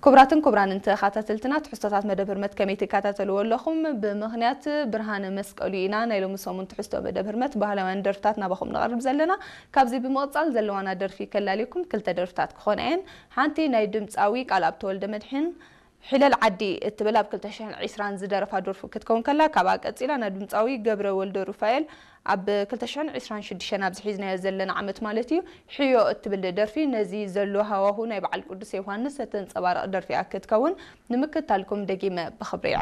ክቡራትን ክቡራንን ተኸታተልትና፣ ትሕዝቶታት መደብ ህርመት ከመይ ትከታተልዎ ኣለኹም? ብምኽንያት ብርሃነ መስቀሉ ኢና ናይ ሎሚ ሰሙን ትሕዝቶ መደብ ህርመት ባህላውያን ደርፍታት ናባኹም ነቕርብ ዘለና። ካብዚ ብምቕጻል ዘለዋና ደርፊ ከላልየኩም ክልተ ደርፍታት ክኾና እየን። ሓንቲ ናይ ድምጻዊ ቃልኣብ ተወልደ መድሕን ሒለል ዓዲ እትብል ኣብ ክልተ ሽሕን ዕስራን ዝደረፋ ደርፉ ክትከውን ከላ፣ ካብኣ ቀጺላ ናይ ድምጻዊ ገብረ ወልደ ሩፋኤል ኣብ ክልተ ሽሕን ዕስራን ሽዱሽተን ኣብዚ ሒዝናዮ ዘለና ዓመት ማለት እዩ፣ ሕዮ እትብል ደርፊ ነዚ ዘሎ ሃዋሁ ናይ በዓል ቅዱስ ዮሃንስ እተንጸባርቕ ደርፊ እያ ክትከውን፣ ንምክታልኩም ደጊመ ብኽብሪ ይዕድመኩም።